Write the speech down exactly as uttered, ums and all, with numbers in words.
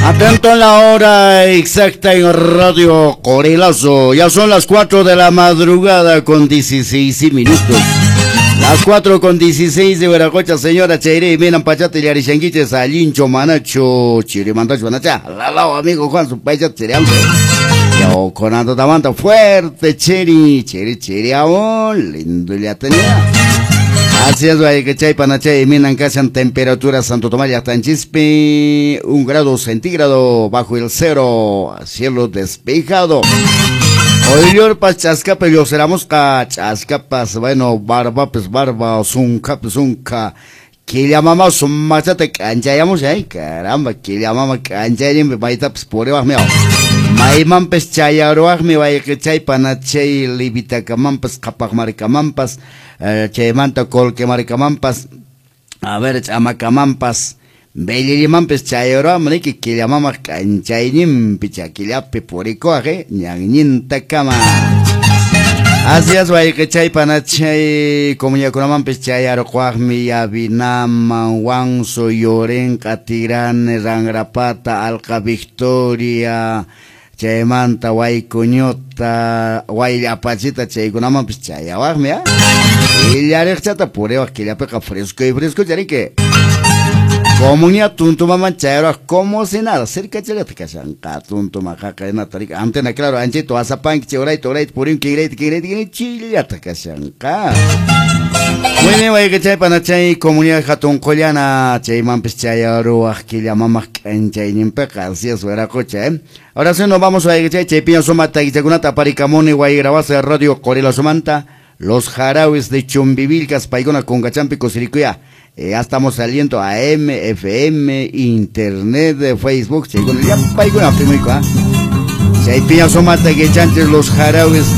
Atento a la hora exacta en Radio Corelazo. Ya son las cuatro de la madrugada con dieciséis minutos. Las cuatro con dieciséis de Veracocha, señora Chaire, miran pachate y arishanguiches, alincho, manacho, chirimantacho, manacha, lalao, amigo Juan, su payat, chiriamse. Yo con ando tamanta fuerte, chiri, chiri, chiri, aún, lindo ya tenía. Así es, hay que chay panachay, minan casan temperatura Santo Tomás Yastanchispe, un grado centígrado bajo el cero, cielo despejado. Oylorpas chascapa, yo seramos ca chascapas, bueno, barba pues barba, zunca pues zunca, que llamamos machate canchayamos, ay, caramba, que llamamos canchayim, baita pues por miao. Maimanpas chayaruaqmi wayqichay panachay livitakamanpas qhapaqmarkamanpas chaymanta colquemarkamanpas a ver ch'amakamanpas Bellimanpas chayaruaqmi niki killamamaq k'anchayninpi chakillapi purikuaq ñannintakama. Así es, wayqichay panachay comunidadkunamanpis chayaruqwaqmi Yavinaman, Wanso, Yorenqa, Tirane, Rangrapata, Alqa Victoria, chaymanta Waykuñuta, Wayllapachita chaykunamanpis chayawaqmi, ¿ah? Illariqchata puriwaq killapiqa fresco y fresco chariki. Comunidad tuntumaman chayaruwaq como si nada, cerca challata kashanqa tuntuma qaqaynata riki antena claro anchito asapanki chay urayta urayta purin kinrayta kinrayta kinrayta chillata kashanqa. Muy bien, wayqichay panachay comunidad hatun qullana chaymanpis chayaruwaq killamamaq k'anchayninpiqa así es wiraqucha, ¿eh? Ahora sí nos vamos wayqichay chaypiña suma takichakunata aparikamuni waygrabasa Radio Corelazomanta los jarawis de Chumbivilcas paykuna kunkachampi kusirikuya. Eh, ya estamos saliendo A M, F M, Internet, Facebook, chaykuna ya paykuna primuiko, ¿ah? Chaypiña suma takichanchis los jarawis